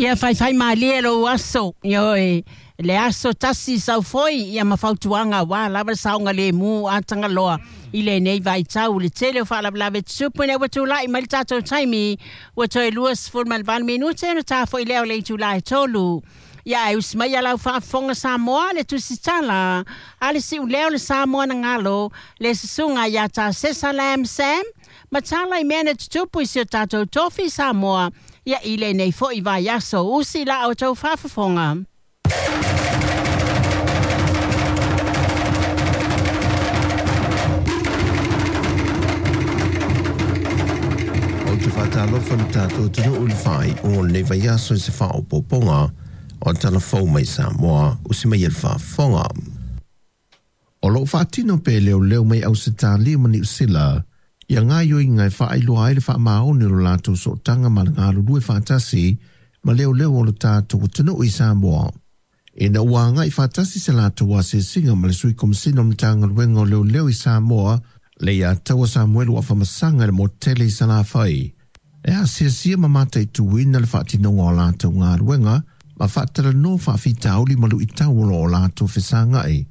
Ia faifai malie lou aso, ioe, le aso tasi saufoi ia ma fautuaga aua lava le saogalemu a Tagaloa i lenei vaitau i le tele o faalavelave tutupu ina ua tulai mai le tatou taimi ua toe 28 minute ona ta foi lea o le itula e 3. Ia ae usi mai lau faafofoga Samoa le tusitala a le siuleo le Samoa na galo le susuga ia Tasesa Lam Sam ma tala i mea na tutupu i si o tatou tofi Samoa ia i lenei foi vaiaso. Usi la outou faafofoga. Ou te faatalofa i le tatou atunuu i le faaiuga o lenei vaiaso i se faaopoopoga o Tala Fou mai Samoa, usi mai e le faafofoga. O lo o faatino pea e leoleo mai Ausetalia ma Niu Sila ia gaoioiga e faailoa ai le faamaoni o lo latou sootaga ma le galulue faatasi ma leoleo o lo tatou atunuu i Samoa. Ina ua agai faatasi se latou asiasiga ma le Sui Komesina o le Matagaluega o Leoleo i Samoa, Leiataua Samuelu Afamasaga i le motu tele i Salafai, e asiasia ma mataituina le faatinoga o latou galuega ma faatalanoa faafitauli ma luitau o lo o latou fesagai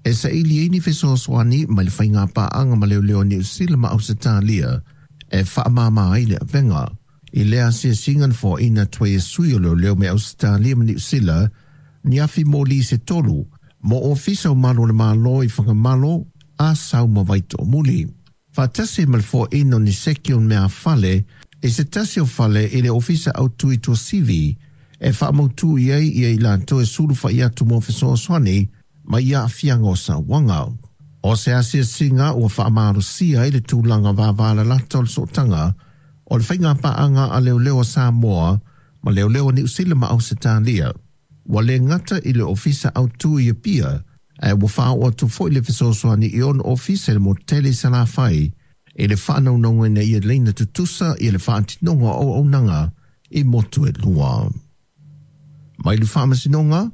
e saili ai ni fesoasoani mai le faigapaaga ma leoleo a Niu Sila ma Ausetalia e faamāmā ai le avega. I lea asiasiga na foaina atu ai e sui o leoleo mai Ausetalia ma Niu Sila ni afi moli se tolu mo ofisa o malu o le Malo i Fagamalo, Asau ma Vaitoomuli. Faatasi ma le foaina o ni seki o meafale i se tasi o fale i le ofisa autu i Tuasivi e faamautu i ai ia i latou e sulufai atu mo fesoasoani mai aafiaga o sauaga. O se asiasiga ua faamalosia ai le tulaga vavalalata o le sootaga o le faigapaaga a leoleo a Samoa ma leoleo a Niu Sila ma Ausetalia. Ua le gata i le ofisa autu i Apia, ae ua faaoo atu foi le fesoasoani i ona ofisa i le motu tele i Salafai i le faanaunauga ina ia laina tutusa ia le faatinoga o auaunaga i motu e lua. Mai le faamasinoga,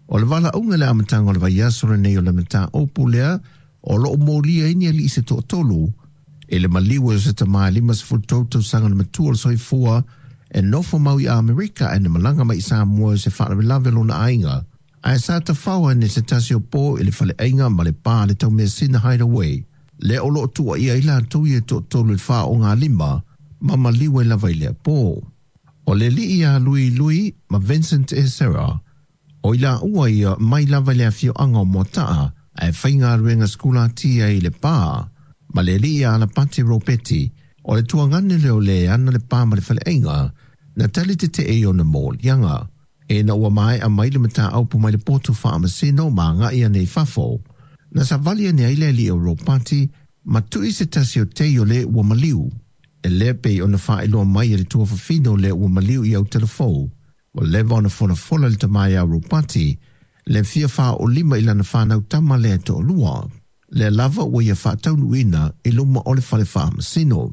o le valaauga i le amataga o le vaiaso lenei o le mataupu lea o lo o molia ai ni alii se toatolu i le maliu o se tama e 53 tausaga le matua o le soifua e nofo mau i Amerika ae na malaga mai i Samoa i se faalavelave o lona aiga ae sa tafao ane se tasi o po i le faleaiga ma le pa le taumeasina Hideaway lea o lo o tuuaia ai latou ia toatolu i le faaogalima ma maliu ai lava i lea po. O le alii ia Lui Lui ma Vincent Esera, o i laua ia mai lava i le afioaga o Moataa ae faigaluega sikulati ai i le pa, ma le alii ia Alapati Ropeti, o le tuagane lea o le ana le pa ma le faleaiga, na tali tetee i ona moliaga. Ina ua maea mai le mataupu mai le potu faamasino ma agai ane i fafo, na savali ane ai le alii o Ropati ma tui se tasi o tei o le ua maliu. E lea pei ona faailoa mai e le tuafafine o le ua maliu i Aotelefou, ua leva ona folafola le tama ia Ropati le fia faaolima i lana fanau tama lea e toalua. Lea lava ua ia faataunuuina i luma o le fale faamasino.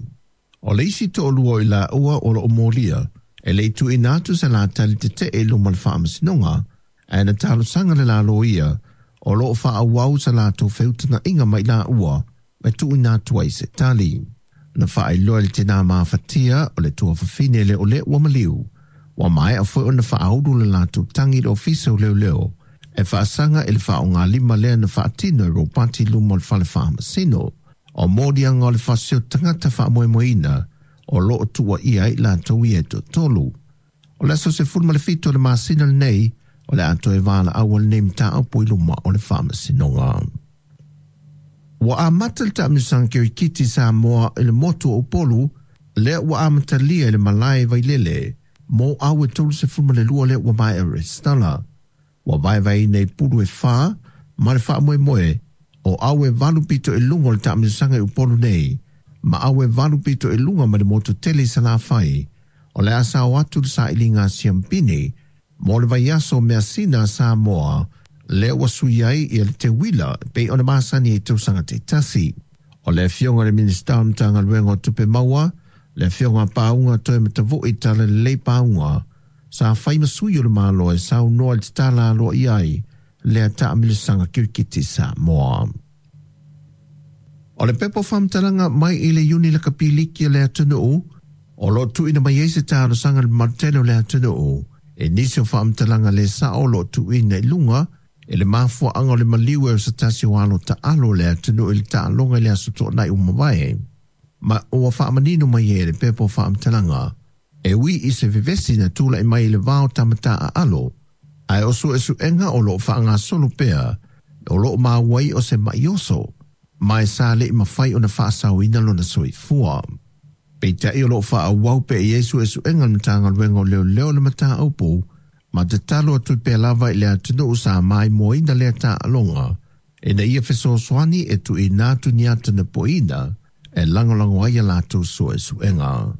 O le isi toalua o i laua o lo o molia, e le i tuuina atu se latali tetee i luma o le faamasinoga, ae na talosaga le la loia o lo o faaauau sa latou feutagaiga ma i laua e tuuina atu ai se tali. Na faailoa e le tinā mafatia o le tuafafine lea o le ua maliu, ua maea foi ona faaulu le latou tagi i le ofisa o leoleo e faasaga i le faaaogalima lea na faatino e Ropati i luma o le fale faamasino. O moliaga o le fasi o tagata faamoemoeina o lo o tuuaia ai latou ia e toatolu. O le aso 17 o le masina lenei, o le a toe valaau ai lenei mataupu i luma o le faamasinoga. Ua amata le taamilosaga kirikiti Samoa i le motu o Upolu, lea ua amatalia i le malae Vailele mo aue 32 lea ua maea resitala. Ua vaevaeina i pulu e fa ma le faamoemoe o aue valu pito i luga o le taamilosaga i Upolu nei ma aue valu pito i luga mai le motu tele i Salafai. O le a sao atu le sailiga a Siampini mo le vaiaso o measina a Samoa lea ua sui ai ia le teuila e pei ona masani ai i tausaga taitasi. O le afioga i le Minisita o le Matagaluega o Tupe Maua, le afioga a Pauga Toematavui Talalelei Pauga, sa fai ma sui o le Malo e saunoa i le tatala aloaia ai lea taamilosaga kirikiti Samoa. O le pepa o faamatalaga mai i le Iuni Lakapiliki o le atunuu, o lo o tuuina mai ai se talosaga i le mamalu tele o le atunuu E nisi o faamatalaga lē saʻo o loo tuuina i luga e le mafuaaga o le maliu e o se tasi o alo taalo o le atunuu i le taaloga i le aso Toonai ua mavae. Ma ua faamanino mai ai e le pepa o faamatalaga, e ui i se vevesi na tulaʻi mai i le va o tama taaalo, ae o suesuega o loo faagasolo pea o loo maua ai o se maʻi oso, ma e sa leʻi mafai ona faasaoina lona soifua. Peitai o loo faaauau pea i ai suesuega a le Matagaluega o Leoleo i le mataupu, ma tatalo atu pea lava i le atunuu sa maimoaina lea taaloga ina ia fesoasoani e tuuina atu ni ata napoina e lagolago ai a latou suesuega.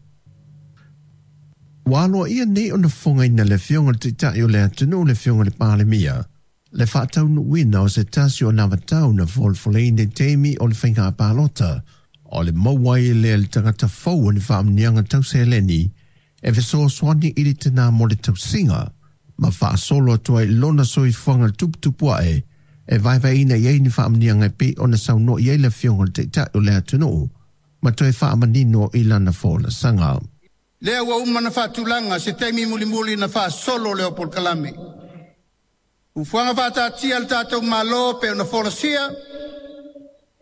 Ua aloaia nei ona fofogaina le Afioga i le Taitai o le atunuu, le Afioga i le Palemia, le faataunuuina o se tasi o anavatau na folafoleina i taimi o le faiga palota, o le maua ai lea e le tagata fou o ni faamanuiaga tau seleni e fesoasoani i le tinā mo le tausiga ma faasolo atu ai i lona soifuaga tuputupu ae e vaevaeina i ai ni faamanuiaga e pei ona saunoa i ai le Afioga i le Taitai o le atunuu ma toe faamanino i lana folasaga. Lea ua uma ona faatulaga se taimi mulimuli na faasolo lea o polokalame. Fuafuaga faataatia a le tatou Malo pe ona folasia,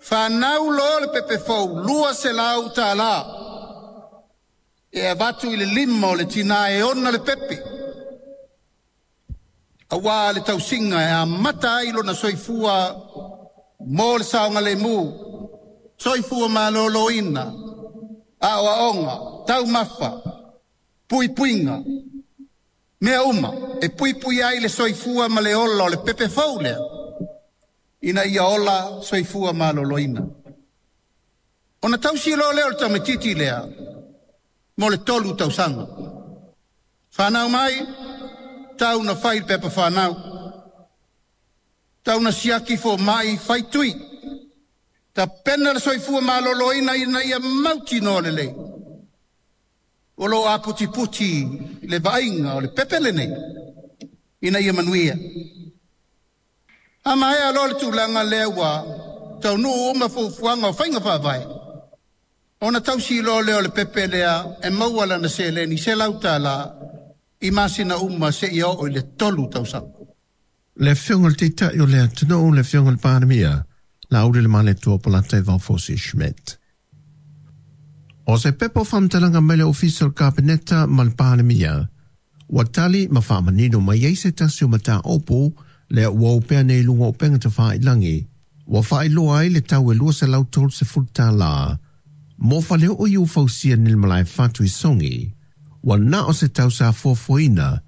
fanau loa le pepe fou $200 e avatu i le lima o le tinā e ona le pepe, auā le tausiga e amata ai lona soifua mo le saogalemu, soifua maloloina, aoaoga, taumafa, puipuiga, mea uma e puipui ai le soifua ma le ola o le pepe fou lea, ina ia ola soifua maloloina. Ona tausi loa lea o le tamaitiiti lea mo le 3 tausaga. Fanau mai, tau na fai le pepa fanau, tau na siaki fomai fai tui, tapena le soifua maloloina ina ia mautinoa lelei o loo aputiputi le vaaiga o le pepe lenei ina ia manuia. A maea loa le tulaga lea ua taunuu uma fuafuaga o faiga faavae, ona tausi loa lea o le pepe lea e maua lana seleni $100 i masina uma seia oo i le 3 tausaga. Le Afioga i le Taitai o le atunuu, le Afioga i le Palemia, Laauli le Malietoa Polata Vaofosi Schmidt. O se pepa o faamatalaga mai le Ofisa o le Kapeneta ma le Palemia, ua tali ma faamanino mai ai se tasi o mataupu lea ua opea nei i luga o upega tafailagi, ua faailoa ai le tau e $230 mo faleoo i ua fausia nei le malae fatu i Sogi. Ua na o se tau sa fuafuaina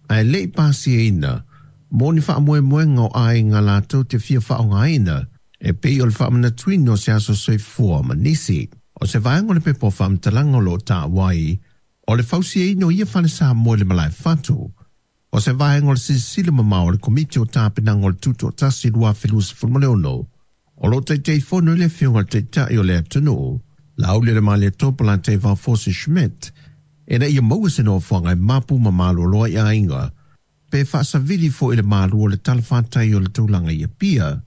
ae le i pasiaina mo ni faamoemoega o aiga latou te fia faaaogaina e pei o le faamanatuina o se aso soifua ma nisi. O se vaega o le pepa o faamatalaga o loo taua ai o le fausiaina o ia fale Samoa i le malae fatu, o se vaega o le silasila mamao a le Komiti o Tapenaga o le Tutoatasi 2026, o loo Taitaifono ai le Afioga i le Taitai o le atunuu, Laauli le Malietoa Polata Vaofosi Schmidt, ina ia maua se nofoaga e mapu ma malolo ai aiga, pe faasavili foi i le malu o le talafatai o le tulaga i Apia,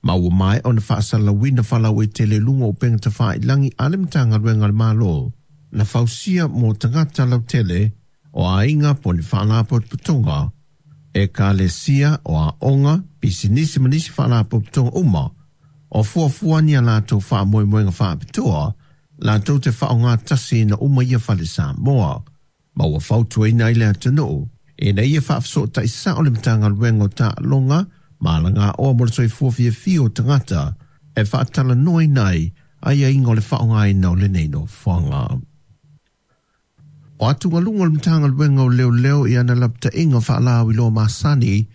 ma ua maea ona faasalalauina faalauaitele i luga o upega tafailagi a le Matagaluega a le Malo na fausia mo tagata lautele o aiga po o ni faalapotopotoga, ekalesia, o aoga, pisinisi ma nisi faalapotopotoga uma o fuafua ni a latou faamoemoega faapitoa latou te faaaogatasiina uma ia fale Samoa, ma ua fautuaina ai le atunuu ina ia faafesootai sao le Matagaluega o Taaloga ma Alagaoa mo le Soifua Fiafia o Tagata e faatalanoaina ai aiaiga o le faaaogaina o lenei nofoaga. O atugaluga o le Matagaluega o Leoleo i ana lapataiga faalauiloa masani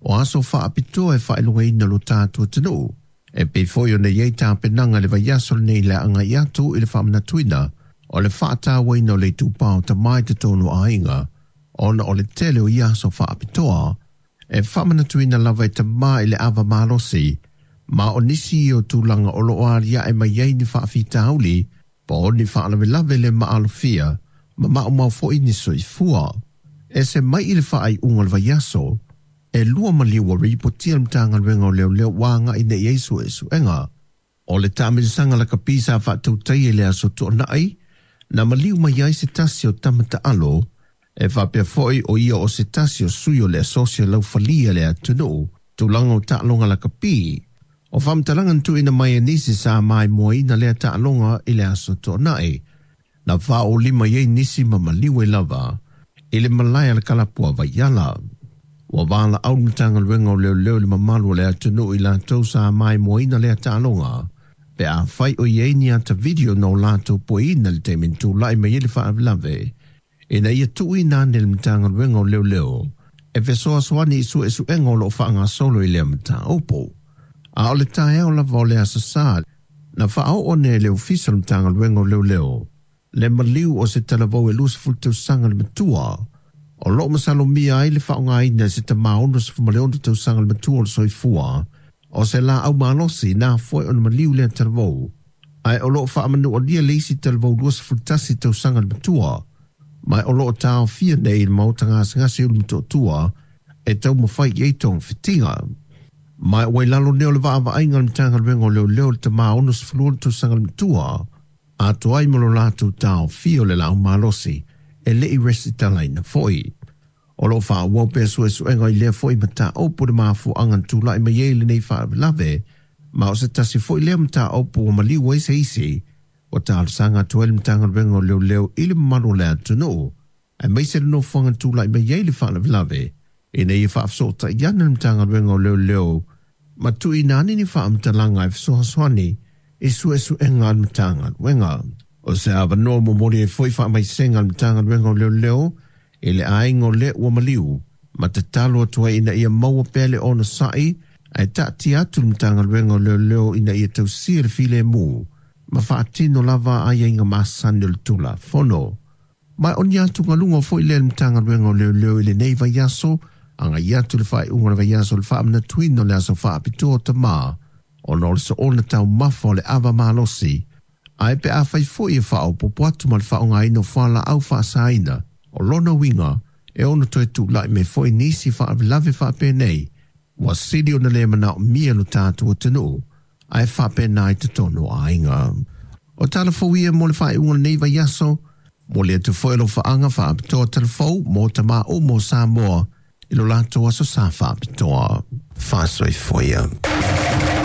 o aso faapitoa e faailogaina lo tatou atunuu, e pei foi ona i ai tapenaga i le vaiaso lenei le agai atu i le faamanatuina o le faatauaina o le itupa o tama i totonu o aiga, ona o le tele o ia aso faapitoa e faamanatuina lava e tama i le ava malosi, ma o nisi o tulaga o loo aliae mai ai ni faafitauli po o ni faalavelave le maalofia ma maumau foi ni soifua. E se mai i le faaiuga o le vaiaso, e 2 maliu ua ripotia le Matagaluega o Leoleo ua agai nei i ai suesuega. O le taamilisaga lakapi sa faatautaia i le aso Toonai, na maliu mai ai se tasi o tama taalo E faapea foi o ia o se tasi o sui o le asosi o le aufalia le atunuu, tulaga o taaloga lakapi. O faamatalaga na tuuina mai e nisi sa maimoaina lea taaloga i le Aso Toonai, na faaolima i ai nisi ma maliu ai lava i le malae a le kalapu a Vaiala. Ua valaau le Matagaluega o Leoleo i le mamalu o le atunuu i latou sa maimoaina lea taaloga, pe afai o i ai ni ata video na o latou pueina i le taimi na tulai mai ai le faalavelave, ina ia tuuina ane i le Matagaluega o Leoleo e fesoasoani i suesuega o lo o faagasolo i lea mataupu. A o le taeao lava o le Aso Sa, na faaoo ane e le Ofisa o le Matagaluega o Leoleo le maliu o se talavou e 20 tausaga le matua, o lo o masalomia ai le faaaogaina e se tama 66 tausaga le matua o le soifua o se laau malosi na afua ai ona maliu lea talavou, ae o lo o faamanualia le isi talavou 21 tausaga le matua, ma o lo o taofia nei i le maota gasegase i Ulumotootua e taumafai i ai togafitiga. Ma ua i lalo nei o le vaavaaiga a le Matagaluega o Leoleo le tama 66 tausaga le matua, atoa ai ma lo latou taofia o le laau malosi e le i resitalaina foi. O lo o faaauau pea suesuega i lea foi mataupu i le mafuaaga na tulai mai ai lenei faalavelave, ma o se tasi foi lea mataupu ua maliu ai se isi ua talosaga atu ai le Matagaluega o Leoleo i le mamalu o le atunuu, aemaise le nofoaga na tulai mai ai le faalavelave, ina ia faafesootai ane le Matagaluega o Leoleo ma tuuina ane ni faamatalaga e fesoasoani i suesuega a le Matagaluega. O se avanoa momoli ai foi faamaisega a le Matagaluega o Leoleo i le aiga o le ua maliu, ma tatalo atu ai ina ia maua pea le onosai ae taatia atu le Matagaluega o Leoleo ina ia tausia le filemu ma faatino lava aiaiga masani o le Tulafono. Ma o ni atugaluga foi lea i le Matagaluega o Leoleo i lenei vaiaso, agai atu i le faaiuga o le vaiaso o le faamanatuina o le aso faapitoa o tama, ona o le soona taumafa o le ava malosi, ae pe afai foi e faaopoopo atu ma le faaaogaina o fualaau faasaina, o lona uiga e ono toe tulai mai foi nisi faalavelave faapenei, ua sili ona le manaomia lo tatou atunuu, ae faapena i totonu o aiga. O tala fou ia mo le faaiuga o lenei vaiaso, momoli atu foi alofaaga faapitoa talafou mo tama uma o Samoa i lo latou aso sa faapitoa. Faasoifua ia.